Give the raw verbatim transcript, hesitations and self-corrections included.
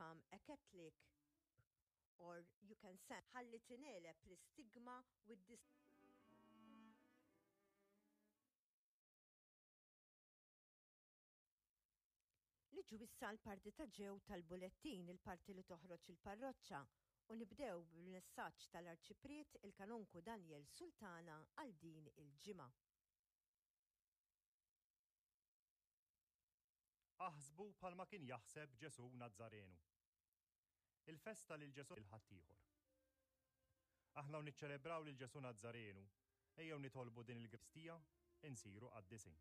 Become a Catholic or you can send ħalli tingħeleb l-istigma with this. Niġu issa l-parti ta' ġew tal-bulettin, il-parti li toħroġ il-parroċċa, u nibdew bil-messaġġ tal-Arċipriet il-Kanonku Daniel Sultana għal din il-ġimgħa. Aħsbu bħalma kien jaħseb Ġesù Nazzarenu. Il-festa lil Ġesù lil ħaddieħor. Aħna u niċċelebraw lil Ġesù Nazzarenu, ejjew nitolbu din il-Gristija insiru qaddisin.